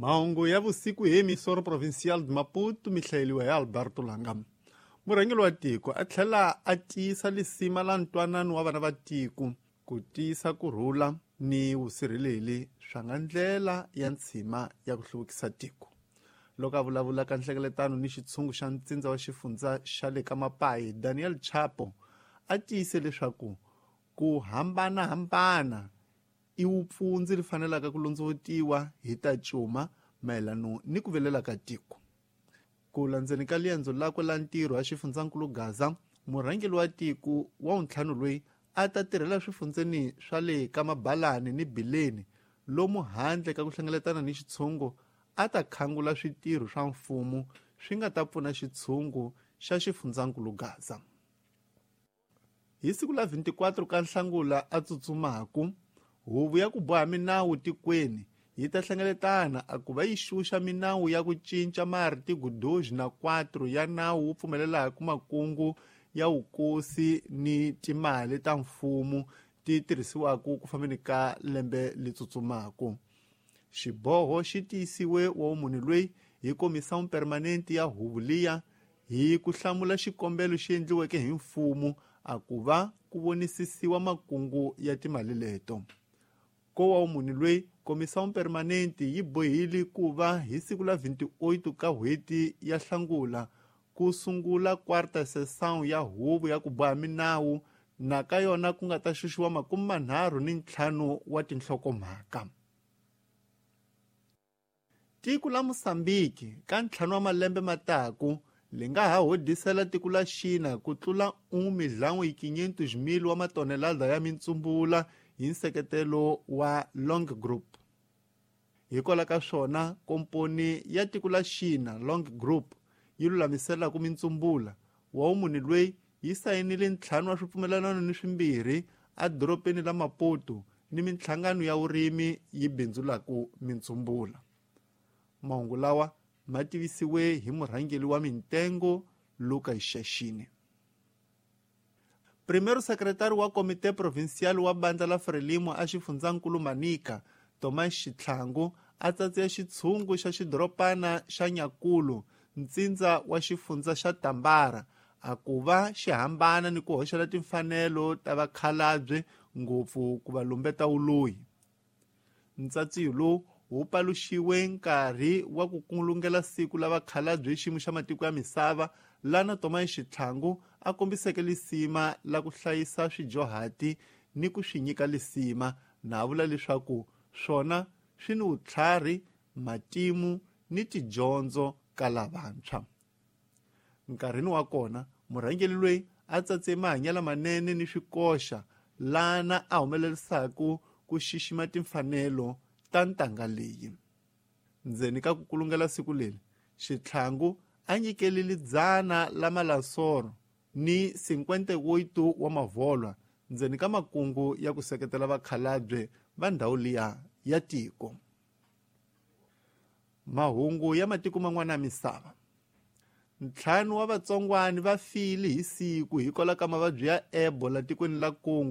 Mahungu ya vusiku hi Emissora Provincial de Maputo mi hlayeliwa hi Alberto Langa. Murhangeri wa tiko a tlhela a tiyisa lisima la ntwanano wa vana va tiko ku tiyisa ku rhula ni vusirheleli swa nga ndlela ya ntshima ya ku hluvukisa tiko. Loko a vulavula ka nhlengeletano ni xitshungu xa ntsindza wa xifundza xa le ka Mapayi, Daniel Chapo a tiyise leswaku ku hambanahambana i wupfundzi ri fanelaka ku londzovutiwa hi ta cuma mayelano ni ku velela ka tiko. Ku landzeni ka liendzo lakwe la ntirho a xifundzankulu Gaza, murhangeri wa tiko wa wuntlhanu loyi a ta tirhela swifundzeni swa le ka Mabalani ni Bileni lomu handle ka ku hlengeletana ni xitshungu a ta khangula switirho swa mfumo swi nga ta pfuna xitshungu xa xifundzankulu Gaza. Hi siku la 24 ka Nhlangula a tsutsumaku, huvo ya ku boha minawu tikweni yi ta hlengeletana a ku va yi xuxa minawu ya ku cinca maartigo 2 na 4 ya nawu wu pfumelelaka makungu ya vukosi ni timali ta mfumo ti tirhisiwaka ku fambeni ka lembe li tsutsumaku. Xiboho xi tiyisiwe wa munhu loyi hi Comissão Permanente ya huvo liya hi ku hlamula xikombelo xi endliweke hi mfumo a ku va ku vonisisiwa makungu ya timali leto. Ko wa munhu loyi Comissão Permanente yi bohile ku va hi siku la 28 ka n'hweti ya Hlangula ku sungula quarta sessão ya huvo ya ku boha minawu na ka yona ku nga ta xuxiwa 35 wa tinhlokomhaka. Tiko la Mozambique ka 5 wa malembe mataku li nga ha hodisela tiko la China ku tlula 1.5 million wa matonelada ya mitsumbula hi nseketelo wa Long Group. Hikwalaho ka swona komponi ya tiko la China Long Group yi lulamiselaka mitsumbula wa munhu loyi yi sayinile 5 wa swipfumelelano ni swimbirhi edorobeni la Maputo ni minhlangano ya vurimi yi bindzulaka mitsumbula. Mahungu lawa ma tivisiwe hi murhangeri wa mintengo Lucas Shashini. Primeiro secretário wa Comité Provincial wa Bandla la Frelimo a xifundzankulu Manica, Thomas Xitlhangu, a tsatsiya xitshungu xa xidoropana xa Nyakulu, ntsindza wa xifundza xa Tambara, a ku va xi hambana ni ku hoxela timfanelo ta vakhalabye ngopfu ku va lumbeta vuloyi. Ntsatsiyo lowu wu paluxiwe nkarhi wa ku kulungela siku la vakhalabye hi xiyimo xa matiko ya misava lana Thomas Xitlhangu a kombiseke lisima la ku hlayisa swijohati ni ku swi nyika lisima na vula leswaku swona swi ni vutlhari, matimu ni tidyondzo ka lavantshwa. Nkarhini wa kona murhangeri loyi a tsatse mahanyelo manene ni swikoxa lana a humelerisaka ku xixima timfanelo ta ntanga leyi. Ndzeni ka ku kulungela siku leri, Xitlhangu a nyikelile 100 la malasoro ni 58 wa mavolwa ndzeni ka makungu ya ku seketela vakhalabye va ndhawu liya ya tiko. Mahungu ya matiko man'wana ya misava. 5 wa vatsongwani va file hi siku hikwalaho ka mavabyi ya Ebola tikweni la Congo.